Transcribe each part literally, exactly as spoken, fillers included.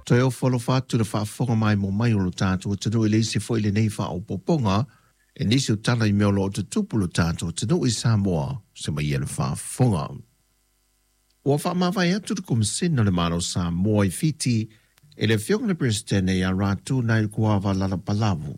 Toe ofo alofa atu le faafofoga maimoa mai o lo tatou atunuu i le isi foi lenei faaopoopoga e nisi o tala i mea o lo o tutupu lo tatou atunuu i Samoa se mai ia le faafofoga. Ua faamavae atu le Komesina o le Malo o Samoa i Fiti e le afioga i le Peresetene ia Ratu Nailikuava Lalabalavu,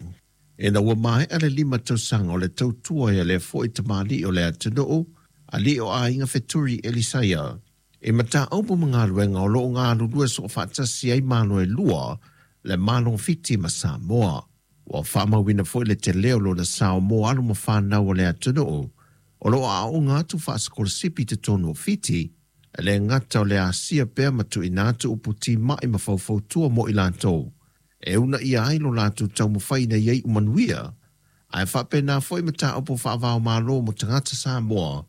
ina ua maea le lima tausaga o le tautua ia lea foi tamalii o le atunuu, alii o aiga Feturi Elisaia, i mataupu ma galuega o lo o galulue soofaatasi ai Malo e lua, le Malo o Fiti ma Samoa. Ua faamauina foi le tele o lona sao mo alo ma fanau o le atunuu o lo o aooga atu faasikolasipi i totonu o Fiti, e le gata o le asia pea ma tuuina atu upu timai ma faufautua mo i latou e uunaia ai lo latou taumafai ina ia iu manuia, ae faapena foi mataupu faava-o-Malo mo tagata Samoa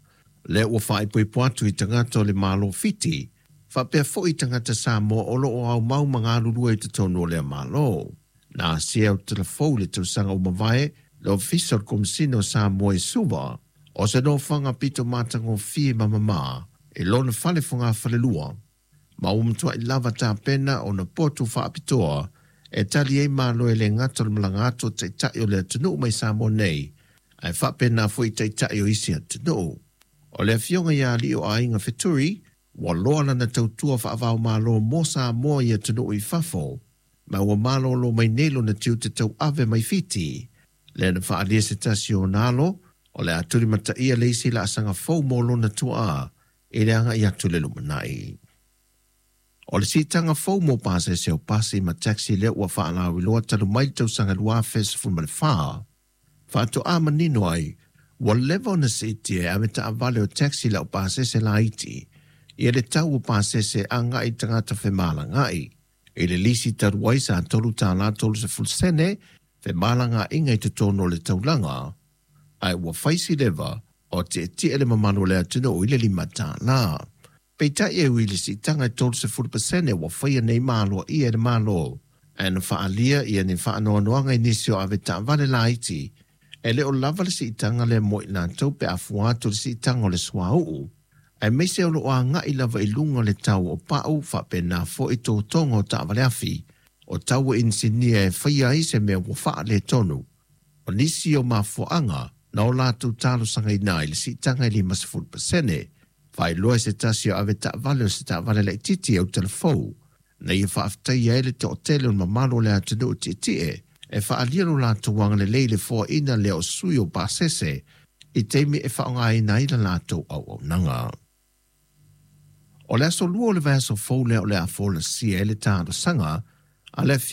lea ua faaipoipo atu i tagata o le Malo Fiti, faapea foi i tagata Samoa o lo o aumau ma galulue i totonu o lea Malo. Na asia e Autalafou i le tausaga ua mavae le Ofisa o le Komesina o Samoa i Suva, o se nofoaga pito matagofie ma mamā i lona fale fogafalelua, ma ua matuai lava tapena ona potu faapitoa e tali ai malo e le gata o le malaga atu o taitai o le atunuu mai Samoa nei, ae faapena foi i taitai o isi atunuu. O le afioga ia Alii o Aiga Feturi, ua loa lana tautua faava-o-Malo mo Samoa i atunuu i fafo, ma ua malolo mai nei lona tiute tauave mai Fiti, lea na faaalia se tasi o ona alo, o le a tulimataia le isi laasaga fou mo lona tuaa i le agai atu i le lumanai. O le siitaga fou mo pasese o pasi ma taxi lea ua faalauiloa talu mai le tausaga lua afe sefulu ma le fa, faatoa manino ai ua leva ona siitia e ave taavale o taxi lau pasese laiti ia le tau o pasese agai i tagata femalagaai. I le lisi talu ai sa tolu tālā tolu sefulu sene femalagaaiga i totonu o le taulaga, ae ua fai si leva o tietie le mamalu o le atunuu i le lima tālā. Peitai e ui i le siitaga e tolu sefulu pasene ua faia nei ma aloaia e le Malo, ae na faaalia ia ni faanoanoaga i nisi o ave taavale laiti, e le o lava le siitaga lea mo i latou pe a fua atu i le siitaga o le suauu, aemaise o lo o agai lava i luga le tau o pau faapena foi totoga o taavale afi, o tau e inisinia e faia ai se mea ua faaletonu. O nisi o mafuaaga na o latou talosagaina ai le siitaga e lima sefulu pasene, faailoa e se tasi o ave taavale o se taavale laitiiti e Autalafou, na ia faafetaia ai le toatele o le mamalu o le atunuu tietie e faaalia lo latou agalelei i le foaiina lea o sui o pasese i taimi e faaaogaina ai la latou auaunaga. O le aso lua o le vaiaso fou lea o le a folasia ai le talosaga a le afioga